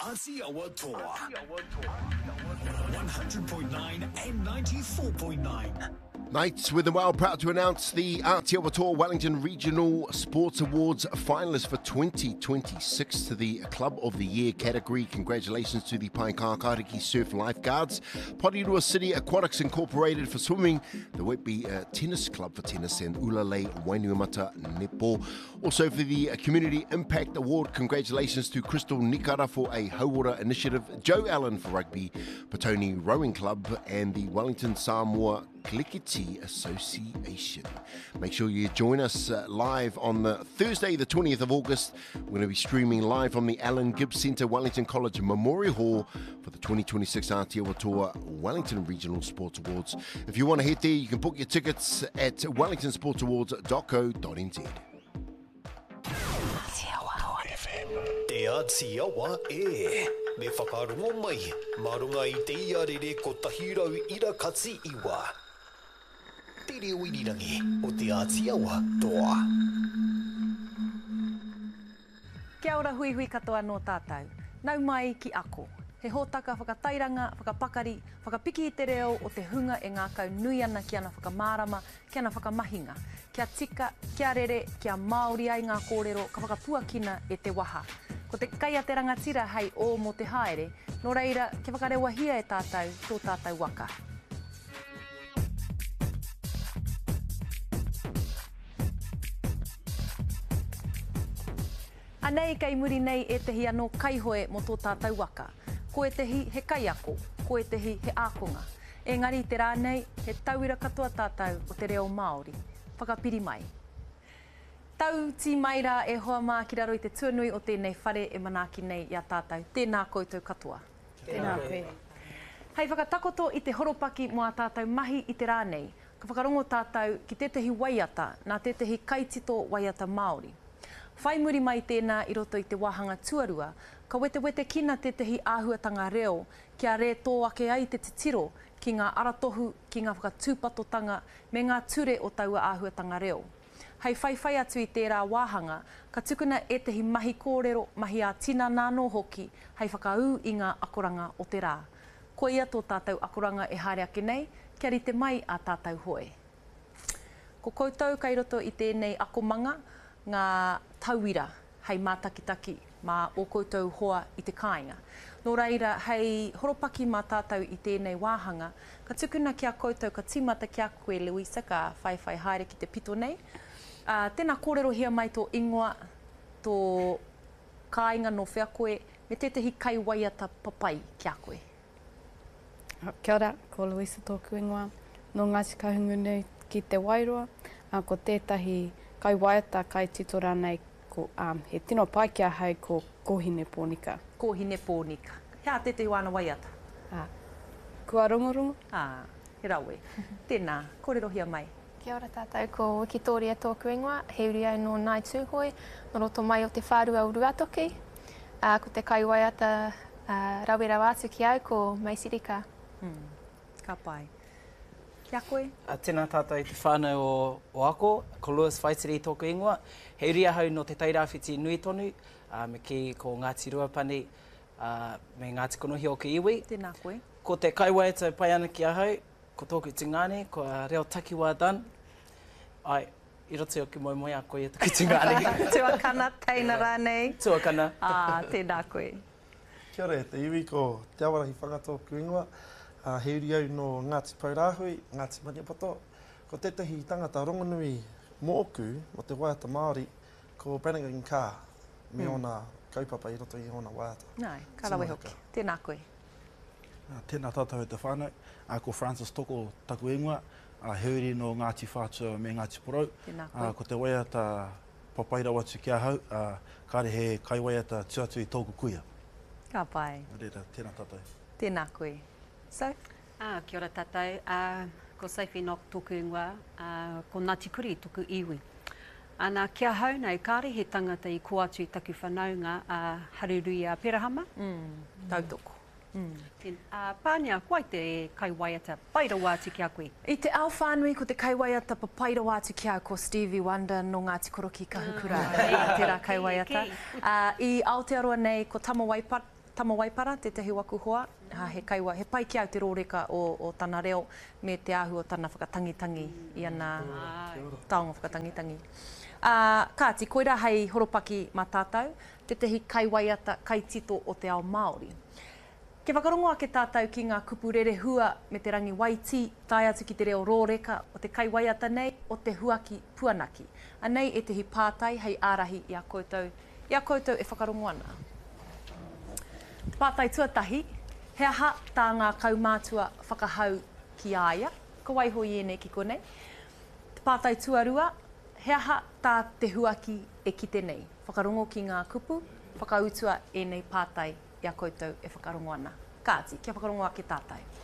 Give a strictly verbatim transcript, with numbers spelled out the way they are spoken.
Atiawa Toa. one hundred point nine and ninety-four point nine. Knights with the Well proud to announce the Atiawa Toa Wellington Regional Sports Awards finalists for twenty twenty-six to the Club of the Year category. Congratulations to the Paekākāriki Surf Lifeguards, Porirua City Aquatics Incorporated for swimming, the Whitby uh, Tennis Club for tennis, and Ulalei Wainuiomata Netball. Also for the Community Impact Award, congratulations to Crystal Nikara for a Hauora Initiative, Joe Allen for rugby, Petone Rowing Club, and the Wellington Samoa Klikiti Association. Make sure you join us uh, live on the Thursday, the twentieth of August. We're going to be streaming live from the Alan Gibbs Centre, Wellington College Memorial Hall for the twenty twenty-six Atiawa Toa Wellington Regional Sports Awards. If you want to head there, you can book your tickets at wellington sports awards dot co dot n z. Te Atiawa e. Me whakarongo mai, mā runga i te iarere kotahi rau ira kati iwa. Te reo irirangi o Te Atiawa Toa. Kia ora hui hui katoa nō tātou. Nau mai ki ako. He hōtaka whakatairanga, whakapakari, whakapiki i te reo o te hunga e ngākau nui ana ki ana whakamārama, ki ana whakamahinga. Kia tika, kia rere, kia Māori ai ngā kōrero ka whakapuakina e te waha. Ko te kai a te rangatira hei o mō te haere, nō reira kia whakarewahia e tātou tō tātou waka. Anei kei muri nei ētehi anō kaihoe mō tō tātou waka. Ko ētehi he kaiako, ko ētehi he ākonga. Engari te rā nei, he tauira katoa tātou o te reo Māori. Whakapiri mai. Tau tī mai rā e hoa mā ki raro i te tuanui o tēnei whare e manaaki nei i a tātou. Tēnā koutou katoa. Tēnā koe. Hei whakatakoto i te horopaki mō a tātou mahi i te rā nei, ka whakarongo tātou ki tētehi waiata nā tētehi kaitito waiata Māori. Whai muri mai tēnā i roto i te wāhanga tuarua, ka wetewete kina tētehi āhuatanga reo kia rētō ake ai te titiro ki ngā aratohu, ki ngā whakatūpatotanga me ngā ture o taua āhuatanga reo. Hei whaiwhai atu i tērā wāhanga, ka tukuna ētehi mahi kōrero, mahi ā-tinana anō hoki, hei whakaū i ngā akoranga o te rā. Koia tō tātou akoranga e haere ake nei, kia rite mai a tātou hoe. Ko koutou kei roto i tēnei akomanga, ngā tauira hei mātakitaki mā o koutou hoa i te kāinga. Nō reira, hei horopaki mā tātou i tēnei wāhanga, ka tukuna ki a koutou, ka tīmata ki a koe, Louisa, ka whaiwhai haere ki te pito nei. Uh, tēnā kōrerohia mai tō ingoa, tō kāinga nō whea koe, me tētehi kaiwaiata papai ki a koe. Kia ora, ko Louisa tōku ingoa. Nō Ngāti Kahungunu ki Te Wairoa, uh, ko tētahi kaiwaiata kaitito rānei, ko, um, he tino pai ki ahau ko Kōhine Pōnika. Kōhine Pōnika. Hea tētehi wāna waiata? Ah, kua rongorongo? Ah, he rawe. Tēnā, kōrerohia mai. Kia ora tātou, ko Wikitoria tōku ingoa, he uri au nō Ngāi Tūhoe, nō roto mai o te whārua o Ruatoki. Uh, ko te kaiwaiata uh, rawe rawa atu ki au, ko Maisey Rika. Mm, ka pai. Kia koe? Tēnā tātou i te whānau o, o Ako, ko Lewis Whaitiri tōku ingoa. He uri ahau nō te Tairāwhiti nui tonu, uh, me ki ko Ngāti Ruapani, uh, me Ngāti Konohi o ki iwi. Tēnā koe. Ko te kaiwaiata pai ana ki ahau, ko tōku tungāne, ko reo takiwā Dan. Ai, i roto i o ki moemoe a koe e taku tungāne. Tuakana, teina rānei. Tuakana. Ah, tēnā koe. Kia ora e te iwi, ko Te Awarahi Whanga tōku ingoa. Uh, he uri au nō Ngāti Paurāhui, Ngāti Maniapoto. Ko tētahi tangata rongonui mōku, mō te waiata Māori, ko Brannigan Carr, me mm. ōna kaupapa i roto i ōna waiata. Nai, ka rawe hoki. Tēnā koe. Tēnā tātou e te whānau. Ko Francis Toko taku ingoa, he uri nō Ngāti Whātua me Ngāti Porou. Tēnā koe. Ko te waiata papai rawa atu ki ahau, kāre he kaiwaiata tu atu i tōku kuia. Ka pai. Reira, tēnā tātou. Tēnā koe. So? Ah, kia ora tātou. Uh, ko Sophie Nock tōku ingoa, uh, ko Ngāti Kuri tōku iwi. Ana, kia hau nei, kāre he tangata i ko atu i taku whanaunga, uh, Hareruia Perahama. Mm, tautoko. Mm. Uh, Pānia, ko ai te kaiwaiata pai rawa atu ki a koe? I te ao whānui, ko te kaiwaiata papai rawa atu ki au ko Stevie Wonder nō Ngāti Koroki Kahukura, mm. tērā kaiwaiata. Uh, I Aotearoa nei, ko Tama Waipa, Tama Waipara, tētahi o aku hoa, he kaiwa, he pai ki au te rōreka o, o tana reo me te āhua o tana whakatangitangi i ana taonga whakatangitangi. Ā, kāti, koirā hei horopaki mā tātou, tētahi kaiwaiata, kaitito o te ao Māori. Kia whakarongo ake tātou ki ngā kupu rerehua me te rangi waitī, tae atu ki te reo rōreka o te kaiwaiata nei, o Te Huaki Puanaki. Anei ētehi pātai hei ārahi i a koutou, i a koutou e whakarongo ana. Te pātai tuatahi, he aha tā ngā kaumātua whakahau ki a ia? Ka waiho i ēnei ki konei. Te pātai tuarua, he aha tā Te Huaki e kite nei? Whakarongo ki ngā kupu, whakautua ēnei pātai i a koutou e whakarongo ana. Kāti, kia whakarongo ake tātou.